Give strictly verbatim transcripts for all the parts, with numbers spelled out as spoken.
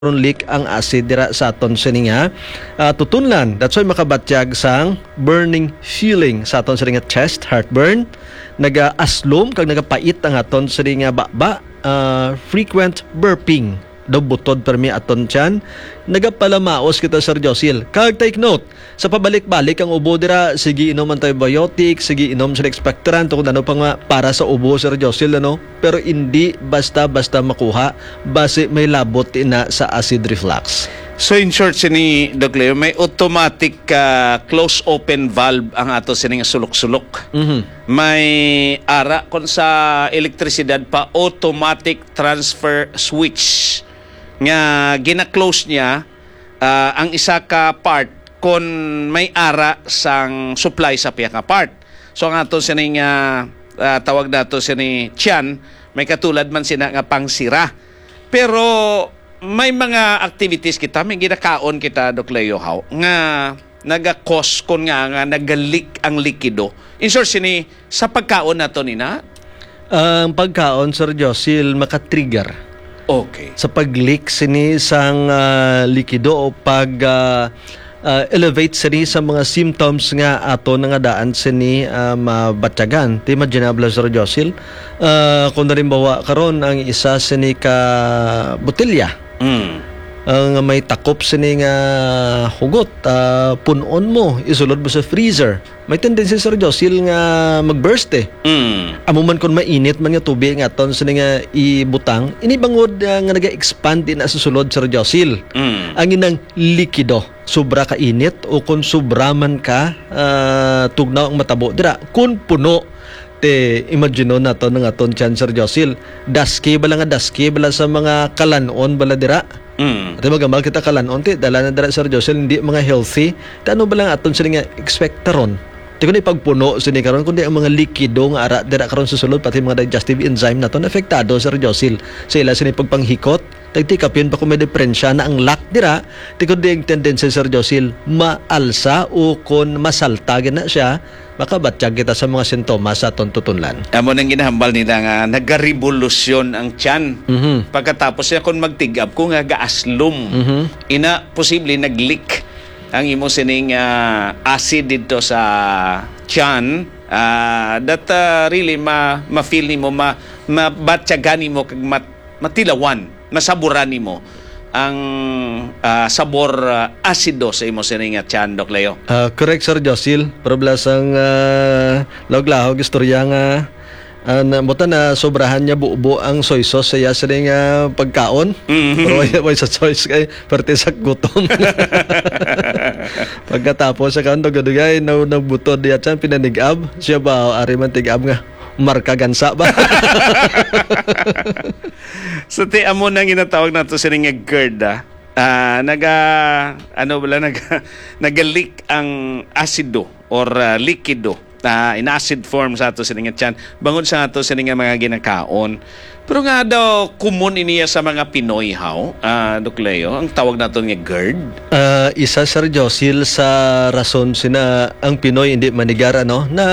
karon leak ang acid dira sa aton sini nga, ah, tutunlan. That's why makabatyag sang burning feeling sa aton sini nga chest, heartburn, nagaaslom kag nagapait ang aton sini nga baba, ah, frequent burping. Daw butod permi aton tiyan. Nagapalamaos kita, Sir Josil. Kag take note, sa pabalik-balik ang ubo dira, sige inom antibiotic, sige inom sa expectorant, kung ano pa nga para sa ubo, Sir Josil, ano? Pero hindi basta-basta makuha, basi may labot ina sa acid reflux. So, in short, sini, Doc Leo, may automatic, ah, close-open valve ang ato sining sulok-sulok. Mhm. May ara kon sa elektrisidad pa, automatic transfer switch nga gina-close niya, ah, ang isa ka part kon may ara sang supply sa pihak nga part. So, ang ato sining, ah, ah, tawag nato sini tiyan, may katulad man sina nga pangsira. Pero may mga activities kita, may ginakaon kita, Doc Leo, haw, nga naga-cause kon nga, nga naga-leak ang likido. In short, sini sa pagkaon nato nina? Ang pagkaon, Sir Josil, maka-trigger Okay. sa pag-leak sini sang, ah, likido o pag, ah, ah, elevate sini sa mga symptoms nga ato na nga daan sini, ah, mabatyagan. Ti imaginable, Sir Josil. Ah, kung halimbawa, karon ang isa sini ka botelya, Mm. ang may takop sini nga hugot, ah, pun-on mo, isulod mo sa freezer. May tendency, Sir Josil, nga mag-burst eh. Mm. Amo man kung mainit man nga tubig nga aton sini nga ibutang, ini bangod, ah, nga naga-expand din sa sulod, Sir Josil. Mm. Ang inang likido, sobra ka init o kung sobra man ka, ah, tugnaw ang matabo dira. Kung puno, te, imagine nato nga aton tiyan, Sir Josil. Daski bala nga daski bala sa mga kalan-on bala dira. Mm. Ate, magamal kita kalan-on, ti, dala na dira, Sir Josil, hindi mga healthy. Ti ano bala nga aton sini nga expectorant? Ti kundi pagpuno sini karon, kundi ang mga likido nga ara dira karon sa sulod, pati mga digestive enzyme naton, apektado, Sir Josil, sa ila sini pagpanghikot. Tagtikapin pa kung may diperensya na ang lack dira, ti kundi ang tendency, Sir Josil, maalsa o kon masalta gina siya, makabatyag kita sa mga sintomas sa aton tutunlan. Amo nang ginahambal nila nga nagarevolusyon ang tiyan. Mhm. Pagkatapos niya, kung magtig-up ko nga gaaslom, Mhm. ina, posible nag-leak ang imo sining, ah, acid dito sa tiyan, ah, that, ah, really ma-, ma-feel nimo, ma-, mabatyagan nimo kag mat-, matilawan, masaburan nimo ang, ah, sabor, ah, asido sa imo sini nga tiyan, Doc Leo. Ah, correct, Sir Josil. Pero bala sang, ah, lahog-lahog istorya nga, ah, na, buta na sobrahan niya bubo ang soy sauce sa iya sini nga pagkaon. Mm. Pero way, way sa choice kay parte sa gutom. Pagkatapos sa kaon, dugay-dugay, na, nagbutod niya tiyan, pinanig-ab. Siya ba, ari man tig-ab nga, marka gansa ba? So, ti, amo na ginatawag nato sini nga GERD, ah. Ah, naga, ano bala, naga, naga-leak ang asido or, ah, likido, ah, in acid form sa ato sini nga tiyan, bangod sa ato sini nga mga ginakaon. Pero nga daw, common iniya sa mga Pinoy, haw, ah, Doc Leo, ang tawag naton nga GERD? Ah, isa, Sir Josil, sa rason sina ang Pinoy hindi manigar, ano, na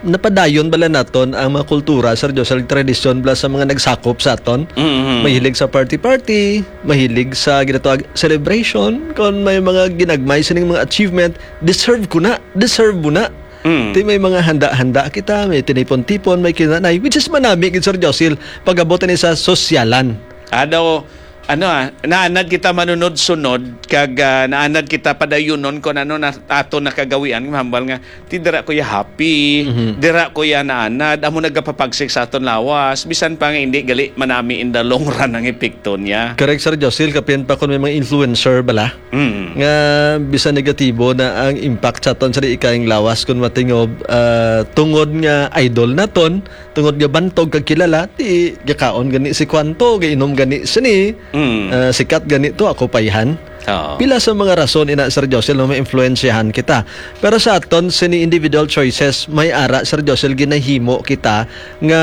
napadayon bala naton ang mga kultura, Sir Josil, tradisyon bala sa mga nagsakop sa aton. Mm-hmm. Mahilig sa party-party, mahilig sa ginatawag celebration, kung may mga ginagmay sining mga achievement, deserve ko na, deserve mo na. Mm. Ti may mga handa-handa kita, may tinipon-tipon, may kinanay, which is manami gid, Sir Josil, pag-abot ni sa sosyalan. Adaw, ano, ah, naanad kita manunod-sunod, kag, ah, naanad kita padayunon kung ano na ato nakagawian, mahambal nga, ti dira ko ya happy, Mhm. dira ko ya naanad, amo nagapapagsik sa aton lawas, bisan pa nga hindi gali manami in the long run ang epekto niya. Correct, Sir Josil, kapin pa kung may mga influencer bala. Mm. Nga bisan negatibo na ang impact sa aton sa di ikayang lawas kung matingob, ah, tungod nga idol naton, tungod nga bantog kag kilala, ti gakaon gani si kwanto, gainom gani sini, Mm. ah, sikat gani to, ako payhan. Oo. Pila sa mga rason ina, Sir Josel, nga maimpluwensyahan kita. Pero sa aton sini individual choices, may ara, Sir Josel, ginahimo kita nga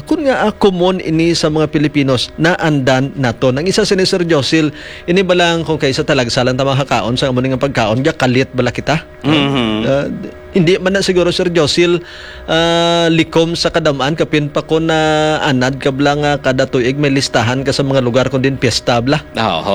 kun nga ah, common ini sa mga Pilipinos, naandan naton. Ang isa sini, Sir Josel, ini ba lang kung kaysa talagsalan ta makakaon sa amo nga pagkaon, gakalit bala kita? Mhm. Ah, hindi man na siguro, Sir Josel, ah, likom sa kadam-an, kapin pa ko na anad ka bala nga kada tuig may listahan ka sa mga lugar kung din piyesta bala. Oo.